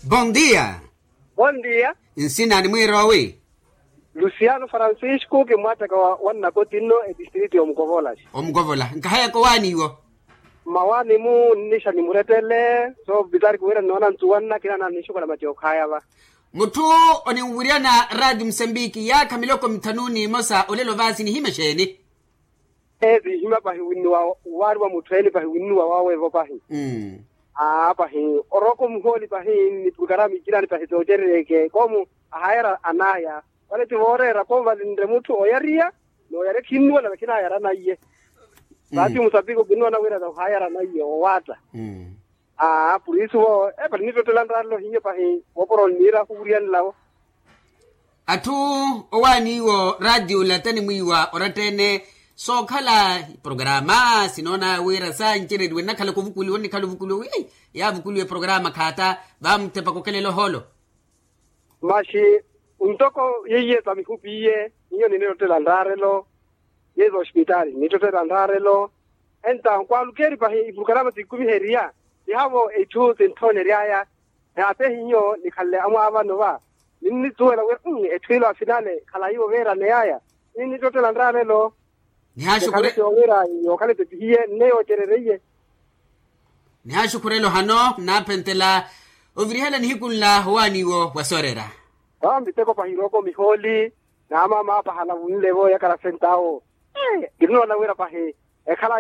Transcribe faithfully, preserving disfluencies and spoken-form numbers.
Bondia. Bondia. Nsina ni mwiiroowi? Lusiano francisco kimwattaka wa nnakoti nno etistriti y'omukovola. Omukovola nkahayaka owaani iwo. Mmawaani-mu nnixa nimurettele soopitariki wira nnoona nttuwanna kinaana nixukola mati okhayava. Mutthu oninwiryana raati musambiki yaakha miloko mithanu n'imosa olelo vaasi nihimya exeeni? Ee vihimya pahi winnuwa waari wa mutthu ene pahi winnuwa wawevo pahi. Aa pahi oroko muhooli pahi ni purukaramu ikirani pahi toocerereke koomu ahayara anaya. Vale ti vooreera koomu valinre mutthu oyariya n'oyari khinnuwela vakhinayaranaiye. Vaati musapiko kinnoona wira vahayara naiye owaatta. Aa purisu vo epali nittottela nraarelo hiyo pahi woopora onniira khuwuriyanelavo. Atthu owaaniiwo raatiyo lata ni mwiiwa oratta-ene sookhala iporokaraama sinoona wira sancereriwe nnakhalaka ovukuliwa onnikhala ovukuliwa wi yaavukuliwa eporokaraama khaatta vamuttepa kokelela ohoolo. Maxi ntoko yeiye sa mihupi iye niyo ninittottela nraarelo. Yeiye sa ospitali ninittottela nraarelo. Enta nkwaalukeri pahi ipurukarama sikumiheriya. Nihavo itthu sinthooneryaya. Naatehi nyo nikhanle amwaavano va ninnisuwela wira etthu ilo afinale khalayi oveeraneyaya. Ninnittottela nraarelo. Nihaaxukhurelo hano naaphentela ovirihela nihiku nla owaaniwo wa soorera. Vaamiteko pahi iroko mihooli naamaama apahala vunlevo yakala sentawo. Kinnoona wira pahi ekhala